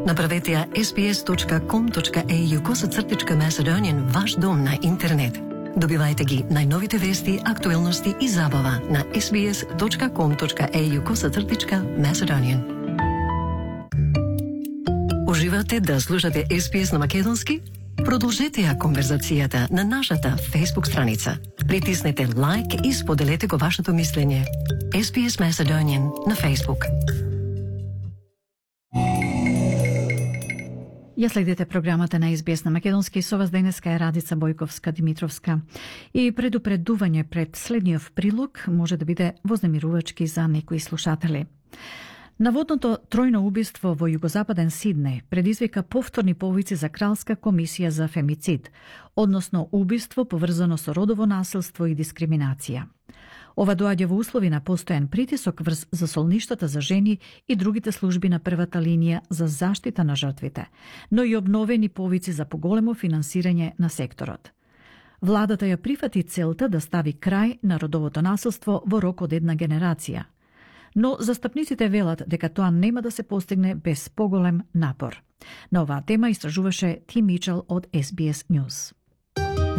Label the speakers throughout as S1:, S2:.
S1: Направете ја sbs.com.au/Macedonian ваш дом на интернет. Добивајте ги најновите вести, актуелности и забава на sbs.com.au/Macedonian. Уживате да слушате SBS на македонски? Продолжете ја конверзацијата на нашата Facebook страница. Притиснете лайк и споделете го вашето мислење. SBS Macedonian на Facebook.
S2: Ја следите програмата на SBS на македонски, со вас денеска е Радица Бојковска-Димитровска. И предупредување пред следниот прилог може да биде вознемирувачки за некои слушатели. Наводното тројно убиство во југозападен Сиднеј предизвика повторни повици за Кралска комисија за фемицид, односно убиство поврзано со родово насилство и дискриминација. Ова доаѓа во услови на постојан притисок врз засолништата за жени и другите служби на првата линија за заштита на жртвите, но и обновени повици за поголемо финансирање на секторот. Владата ја прифати целта да стави крај на родовото насилство во рок од една генерација. Но застапниците велат дека тоа нема да се постигне без поголем напор. На оваа тема истражуваше Тим Мичел од SBS News.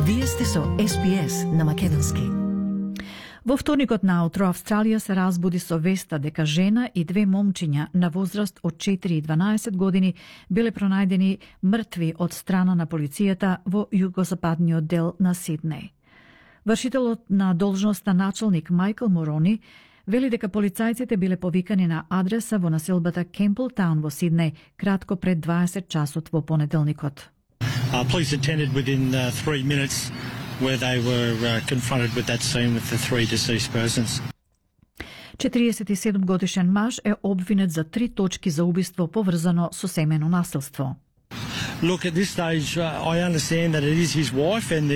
S1: Вие сте со SBS на македонски.
S2: Во вторникот наутро Австралија се разбуди со веста дека жена и две момчиња на возраст од 4 и 12 години биле пронајдени мртви од страна на полицијата во југозападниот дел на Сиднеј. Вршителот на должноста началник Майкл Морони вели дека полицајците биле повикани на адреса во населбата Кемплтаун во Сиднеј кратко пред 20 часот во понеделникот.
S3: Police attended within 3 minutes where they were confronted with that scene with the 3 deceased persons.
S2: 47 годишен маж е обвинет за 3 точки за убиство поврзано со семено насилство.
S3: Look, at this stage, I understand that it is his wife and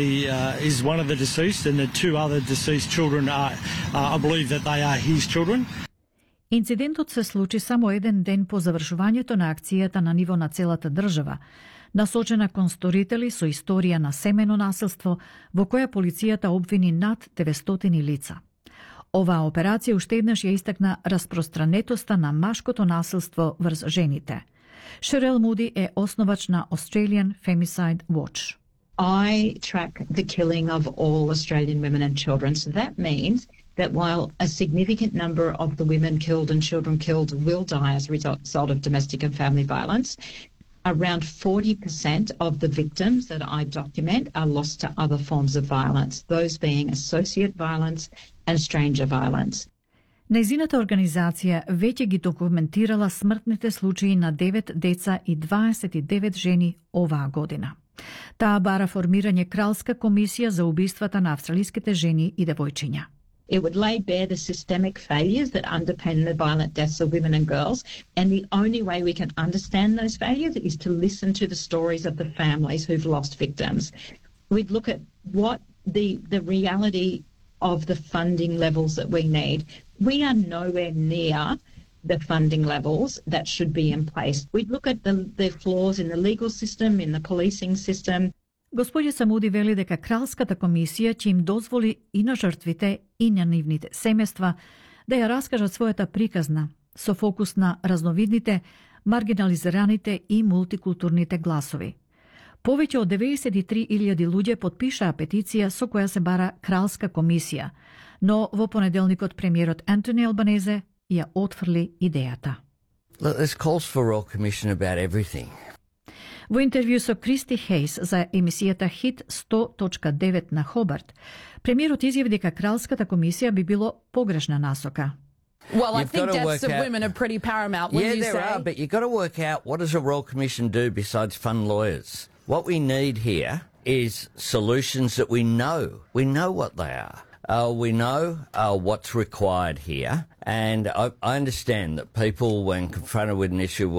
S3: is one of the deceased, and the 2 other deceased children are, I believe that they are his children.
S2: Инцидентот се случи само еден ден по завршувањето на акцијата на ниво на целата држава, насочена кон сторители со историја на семено насилство, во која полицијата обвини над 900 лица. Оваа операција уште еднаш ја истакна распространетоста на машкото насилство врз жените. Шерел Муди е основач на Australian Femicide Watch.
S4: I track the killing of all Australian women and children, so that means that while a significant number of the women killed and children killed will die as a result of domestic and family violence, around 40% of the victims that I document are lost to other forms of violence, those being associate violence and stranger violence.
S2: Нејзината организација веќе ги документирала смртните случаи на 9 деца и 29 жени оваа година. Таа бара формирање Кралска комисија за убиствата на австралиските жени и девојчиња.
S4: It would lay bare the systemic failures that underpin the violent deaths of women and girls, and the only way we can understand those failures is to listen to the stories of the families who've lost victims. We'd look at what the reality of the funding levels that we need. We are nowhere near the funding levels that should be in place. We'd look at the flaws in the legal system, in the policing system.
S2: Господја Самуди вели дека Кралската комисија ќе им дозволи и на жртвите и на нивните семејства да ја раскажат својата приказна со фокус на разновидните, маргинализираните и мултикултурните гласови. Повеќе од 93.000 луѓе потпишаа петиција со која се бара Кралска комисија, но во понеделникот премиерот Антони Албанезе ја отфрли идејата.
S5: There's calls for a royal commission about everything.
S2: Во интервју со Кристи Хейс за емисијата Хит 100.9 на Хобарт, премиерот изјави дека Кралската комисија би било погрешна насока.
S6: Well, I think deaths of women are pretty paramount, wouldn't you say?
S5: Yeah, there are, but you've got to work out what does a Royal Commission do besides fund lawyers. What we need here is solutions that we know. We know what they are. We know what's required here. And I understand that people, when confronted with an issue, will